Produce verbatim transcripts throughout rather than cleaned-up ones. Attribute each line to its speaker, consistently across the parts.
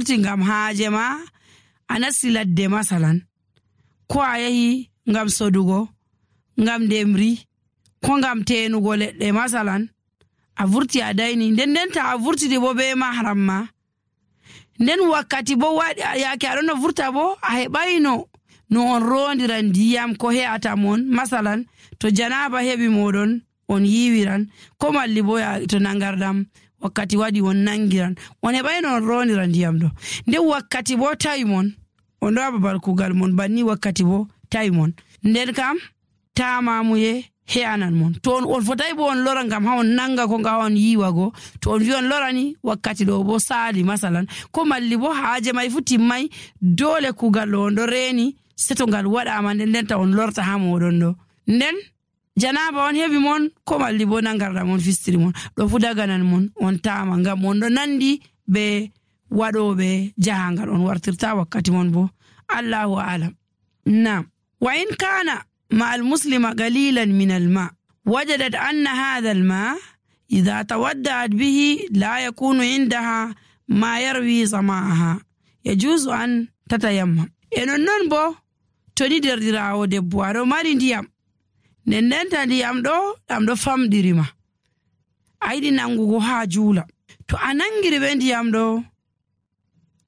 Speaker 1: vurti ngam haaje ma a nasti ladde masalan ko a yahi ngam sodugo ngam demri ko ngam tenugo leɗɗe masalan a vurti a dayni nden nden ta a vurtidi bo be mahram ma nden wakkati bo waɗi yaake aɗon no vurta bo a heɓayno no on rondiran ndiyam ko he'ata mon masalan to janaba heɓi moɗon on yiwiran ko malli bo to nangardam wakkati waɗi on nangiran on heɓayno on rondiran ndiyam ɗo nden wakkati bo tawi mon on ɗo babal kugal mon banni wakkati bo tawi mon nden kam tamamuye he'anan mon to on on fotai bo on lora ngam ha on nanga ko nga on yiwago to on wi on lorani wakkati ɗo bo sali masalan ko malli bo haaje mai fu timmai dole kugal ɗo on ɗo reni seto ngal waɗama nden nden ta on lorta ha moɗon ɗo nden janaba on heɓi mon ko malli bo nangarɗa mon fistiri mon ɗo fu daganan mon on tama ngam on ɗo nandi be waɗoɓe jahangal on wartirta wakkati mon bo allahu alam. Nam wa in kana مع المسلم قليلا من الماء وجدت أن هذا الماء إذا تودعت به لا يكون عندها ما يروي ظمأها يجوز أن تتيمم eno non bo to ni derdiraawo debbo aɗo mari ndiyam nden ndenta ndiyam ɗo ɗam ɗo famɗirima a yiɗi nangugo haa juula to a nangiri ɓe ndiyam ɗo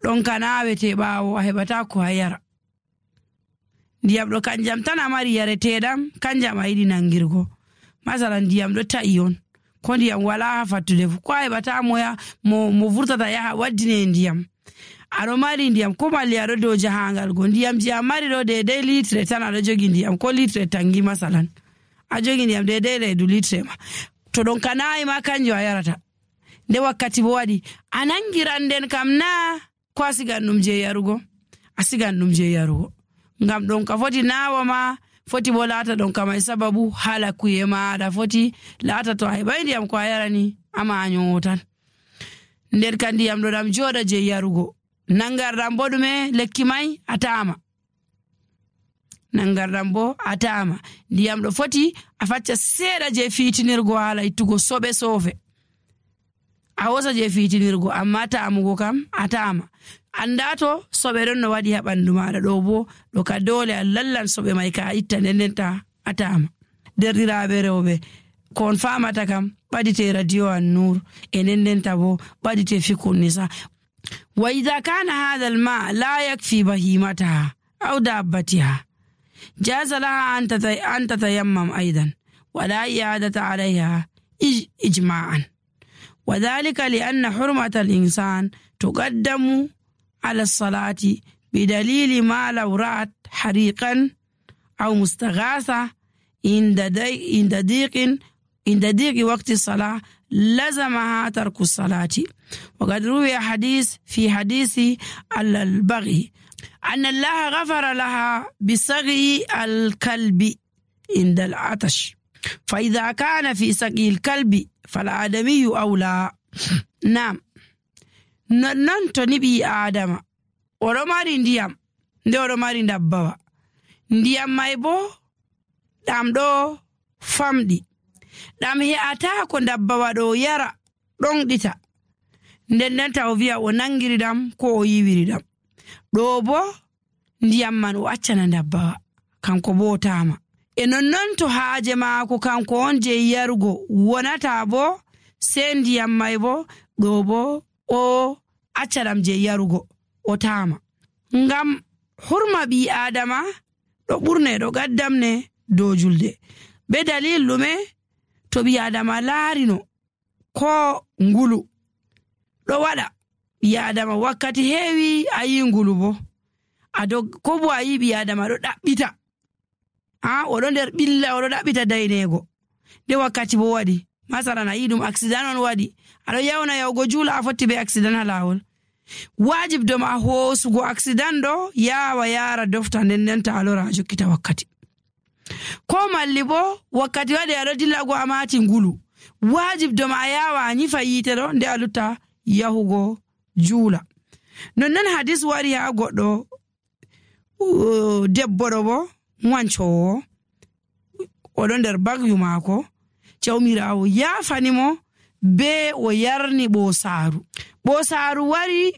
Speaker 1: ɗon ka nawete ɓaawo a heɓata ko a yara ndiyam ɗo kanjam tan a mari yareteɗam kanjam a yiɗi nangirgo masalan ndiyam ɗo ta'i on ko ndiyam wala ha fattude fu ko a heɓata moya mo, mo vurtata yaha waddine ndiyam aɗo mari ndiyam ko malli aɗo dow jahangal go ndiyam ji a mari ɗo dedei litre tan aɗo jogi ndiyam ko litre tangi masalan a jogi ndiyam dedei reedu litre ma to ɗon ka nayi ma kanjo a yarata nde wakkati bo waɗi a nangiran nden kam na ko a sigan ɗum je yarugo a sigan ɗum je yarugo ngam ɗon ka foti nawa ma foti bo laata ɗon ka mai sababu hala kuye maɗa foti laata to a heɓai ndiyam ko a yarani ama a nyowo tan nder ka ndiyam ɗo ɗam joɗa je yarugo nangarɗam bo ɗume lekki mai a tama nangarɗam bo a tama ndiyam ɗo foti a facca seeɗa je fitinirgo hala ittugo soɓe sofe a hosa je fitinirgo amma tamugo kam a tama anda to soɓe ɗon no waɗi ha ɓandu maɗa ɗo bo ɗo ka dole a lallan soɓe mai ka itta nden nden ta a tama derɗiraɓe rewɓe ko on famata kam ɓadite radio an nur e nden nden ta bo ɓadite fikun nisa wa idha kana hadha alma la yakfi bahimataha aw dabbatiha jaza laha an tatayammam aidan wala i'adata alayha ijma'an وذلك لأن حرمة الإنسان تقدم على الصلاة بدليل ما لو رأت حريقا أو مستغاثة عند ضيق عند ضيق وقت الصلاة لزمها ترك الصلاة. وقد روي حديث في حديث البغي أن الله غفر لها بسقي الكلب عند العطش فإذا كان في سقي الكلب فالآدمي أولى. نعم non to ni ɓi adama oɗo mari ndiyam nde oɗo mari dabbawa ndiyam mai bo ɗam ɗo famɗi ɗam he'ata ko dabbawa ɗo yara ɗon ɗita nden nden ta o wi'a o nangiri ɗam ko o yiwiri ɗam ɗo bo ndiyam man o accana dabbawa kanko bo tama e nonnon to haaje maako kanko on je yarugo wonata bo sei ndiyam mai bo ɗo bo o accaɗam je yarugo o tama ngam hurma ɓi adama ɗo ɓurne ɗo gaddamne dow julde be dalil ɗume to ɓi adama laarino ko ngulu ɗo waɗa ɓi adama wakkati heewi a yi ngulu bo ado ko bo a yi ɓi adama ɗo ɗaɓɓita a oɗo nder ɓilla oɗo ɗaɓɓita daynego nde wakkati bo waɗi masalan a yi ɗum accident on waɗi aɗo yawna yawgo juula a fotti be accident ha lawol wajib dom a hoosugo accident ɗo yawa yara dofta nden nden ta alora a jokkita wakkati ko malli bo wakkati waɗi aɗo dillago a mati ngulu wajib dom a yawa a nyifa yite ɗo nde a lutta yahugo juula nonnon hadis wari ha goɗɗo debbo ɗo bo wancowo oɗo nder bagyu maako jawmirawo yafanimo be o yarni ɓosaru ɓosaru wari